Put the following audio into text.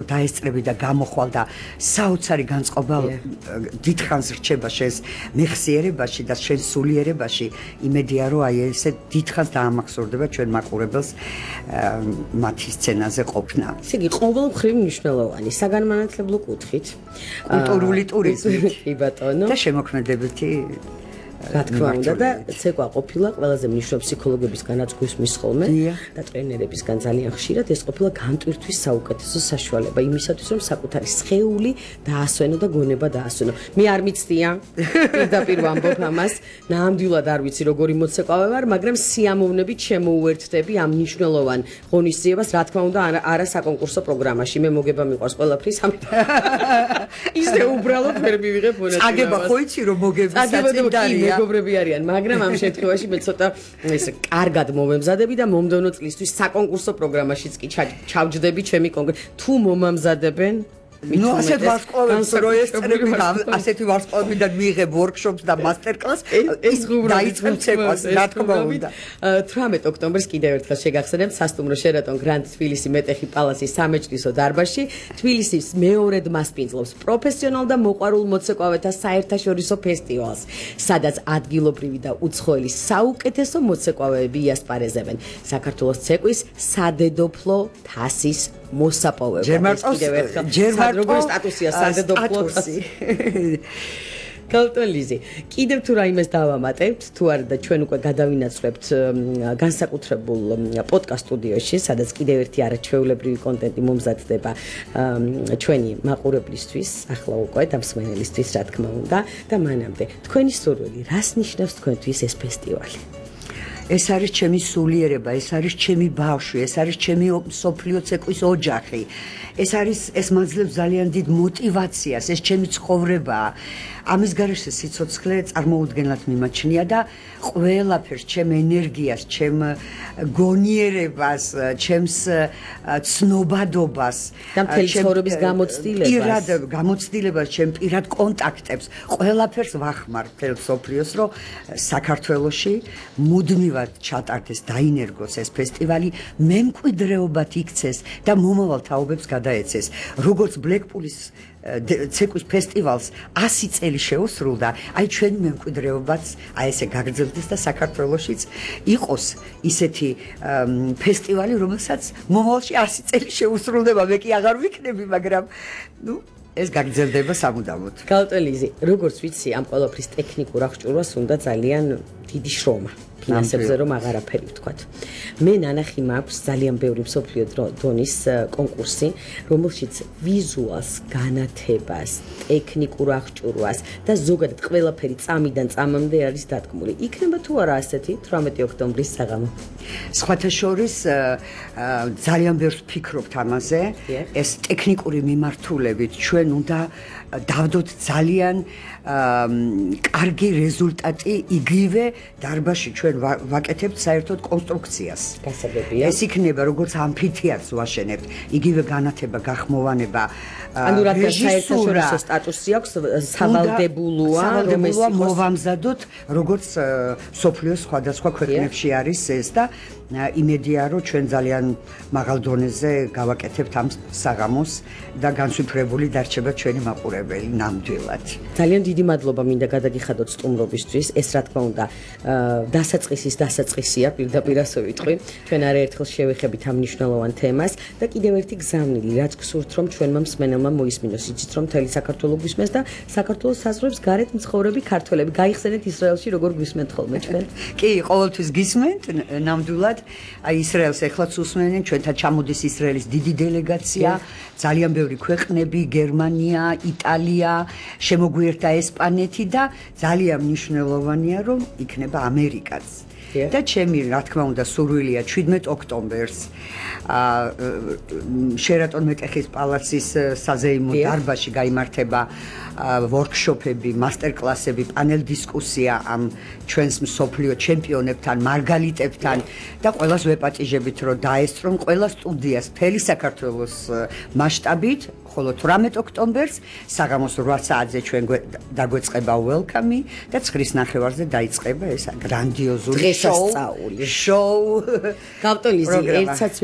დაესწრები და გამოხვალ და საოცარი განწყობა დიდხანს რჩება შენს მეხსიერებაში და შენს სულიერებაში. იმედია რომ აი ესე დიდხანს დაამახსოვრდება ჩვენ მაყურებელს მათი სცენაზე ყოფნა. ესე იგი ყოველ მხრივ მნიშვნელოვანი საგანმანათლებლო კუთხით, კულტურული ტურიზმით კი ბატონო და შემოქმედებითი რა თქმა უნდა და ცეკვა ყოფილა ყველაზე მნიშვნელოვანი ფსიქოლოგების განაცგვის ხოლმე და ტრენერებისგან ძალიან ხშირად ეს ყოფილა განტვირთვის საუკეთესო საშუალება იმისათვის რომ საკუთარი სხეული დაასვენო და გონება დაასვენო. მე არ მიცდია პირდაპირ ვამბობ ამას, ნამდვილად არ ვიცი როგორი მოცეკვავე ვარ, მაგრამ სიამოვნებით შემოუერთდები ამ მნიშვნელოვან ღონისძიებას, რა თქმა უნდა არა საკონკურსო პროგრამაში. მე მოგება მიყვარს ყველაფრის ამიტომ ისე უბრალოდ ვერ მივიღებ მონაწილეობას. აგება ხო იცი რომ მოგების საწინდარია მეგობრები არიან, მაგრამ ამ შემთხვევაში მე ცოტა ესე კარგად მომემზადები და მომდევნო წლისთვის საკონკურსო პროგრამაშიც კი ჩავჯდები ჩემი კონკრეტ თუ მომამზადებენ ნუ ასეთ ვარსკვლავებს რო ესწრები ასეთი ვარსკვლავებიდან მიიღებ ვორქშოპს და მასტერკლასს ეს დაიწყებ ცეკვას რა თქმა უნდა 18 ოქტომბერს კიდევ ერთხელ შეგახსენებთ სასტუმრო შერატონ გრანდ თბილისი მეტეხი პალაცის სამეჯლისო დარბაზში თბილისის მეორედ მასპინძლობს პროფესიონალ და მოყვარულ მოცეკვავეთა საერთაშორისო ფესტივალს სადაც ადგილობრივი და უცხოელი საუკეთესო მოცეკვავეები იასპარეზებენ საქართველოს ცეკვის სადედოფლო თასის მოსაპოვება. ჯერ როგორი სტატუსია სადედოფლო თასი. კალტონლიზე. კიდევ თუ რაიმეს დავამატებთ, თუ არა და ჩვენ უკვე გადავინაცვლებთ განსაკუთრებულ პოდკასტ სტუდიოში, სადაც კიდევ ერთი არაჩვეულებრივი კონტენტი მომზადდება ჩვენი მაყურებლისთვის, ახლა უკვე და მსმენელისთვის, რა თქმა უნდა, და მანამდე თქვენი სურვილი, რას ნიშნავს თქვენთვის ეს ფესტივალი? ეს არის ჩემი სულიერება, ეს არის ჩემი ბავშვი, ეს არის ჩემი სოფლიო ცეკვის ოჯახი. ეს მაძლევს ძალიან დიდ мотивაციას, ეს ჩემი ცხოვრებაა. ამის გარეშე სიცოცხლე წარმოუდგენლად მიმაჩნია და ყველაფერს, ჩემ ენერგიას, ჩემ გონიერებას, ჩემს ცნობადობას, და მთელი ცხოვრების გამოცდილებას, ჩემ პირად კონტაქტებს, ყველაფერს ვახმარ მთელ სოფლიოს, რომ საქართველოში მუდმივად ჩატარდეს, დაინერგოს ეს ფესტივალი, მემკვიდრეობად იქცეს და მომავალ თაობებს გადაეცეს. როგორც ბლეკპულის ცეკვის ფესტივალს 100 წელი შეუსრულდა, აი ჩვენი მემკვიდრეობაც აი ესე გაგრძელდეს და საქართველოშიც იყოს ისეთი ფესტივალი, რომელსაც მომავალში 100 წელი შეუსრულდება. მე კი აღარ ვიქნები, მაგრამ ნუ ეს გაგრძელდება სამუდამოდ. კალტონლიზე, როგორც ვიცი, ამ ყველაფრის ტექნიკურ აღჭურვას უნდა ძალიან დიდი შრომა. ფინანსებზე რომ აღარაფერი ვთქვათ. მე ნანახი მაქვს ძალიან ბევრი მსოფლიო დონის კონკურსი, რომელშიც ვიზუალს, განათებას, ტექნიკურ აღჭურვას და ზოგადად ყველაფერი წამიდან წამამდე არის დადგმული. იქნება თუ არა ასეთი 18 ოქტომბრის საღამო? სხვათა შორის ძალიან ბევრს ვფიქრობთ ამაზე. ეს ტექნიკური მიმართულებით ჩვენ უნდა დავდოთ ძალიან კარგი რეზულტატი იგივე დარბაზში ჩვენ ვაკეთებთ საერთოდ კონსტრუქციას. გასაგებია. ეს იქნება როგორც ამფითეატრს ვაშენებთ, იგივე განათება, გახმოვანება, ანუ რადგან საერთაშორისო სტატუსი აქვს, სავალდებულოა, რომ ეს იყოს მოვამზადოთ, როგორც სოფლიოს სხვადასხვა ქვეყნებში არის ეს და იმედია რომ ჩვენ ძალიან მაღალ დონეზე გავაკეთებთ ამ საღამოს და განსვიფრებული დარჩება ჩვენი მაყურებელი ნამდვილად. ძალიან დიდი მადლობა მინდა გადაგიხადოთ სტუმრობისთვის. ეს რა თქმა უნდა დასაწყისია, პირდაპირ ასე ვიტყვი. ჩვენ არაერთხელ შევეხებით ამ მნიშვნელოვან თემას და კიდევ ერთი გზავნილი, რაც გსურთ რომ ჩვენმა მსმენელმა მოისმინოს, იცით რომ მთელი საქართველო გვისმენს და საქართველოს საზღვრებს გარეთ მცხოვრები ქართველები. გაიხსენეთ ისრაელში როგორ გვისმენთ ხოლმე ჩვენ? კი, ყოველთვის გისმენთ, ნამდვილად. აი ისრაელს ეხლაც უსმენენ, ჩვენთან ჩამოდის ისრაელის დიდი დელეგაცია, ძალიან ბევრი ქვეყნები, გერმანია, იტალია, შემოგვიერთა ესპანეთი და ძალიან მნიშვნელოვანია რომ იქნება ამერიკაც. და ჩემი რა თქმა უნდა სურვილია 17 ოქტომბერს შერატონ მეტეხის პალაცის საზეიმო დარბაზში გაიმართება ვორქშოპები, მასტერკლასები, პანელ დისკუსია ამ ჩვენს მსოფლიო ჩემპიონებთან, მარგალიტებთან და ყველას ვეპატიჟებით რომ დაესწრონ ყველა სტუდიას მთელი საქართველოს მასშტაბით, ხოლო 18 ოქტომბერს საღამოს 8 საათზე ჩვენ დაგვეწყება welcome და 9-ის ნახევარზე დაიწყება ეს გრანდიოზული შოუ. კალტონლიზე ერთსაც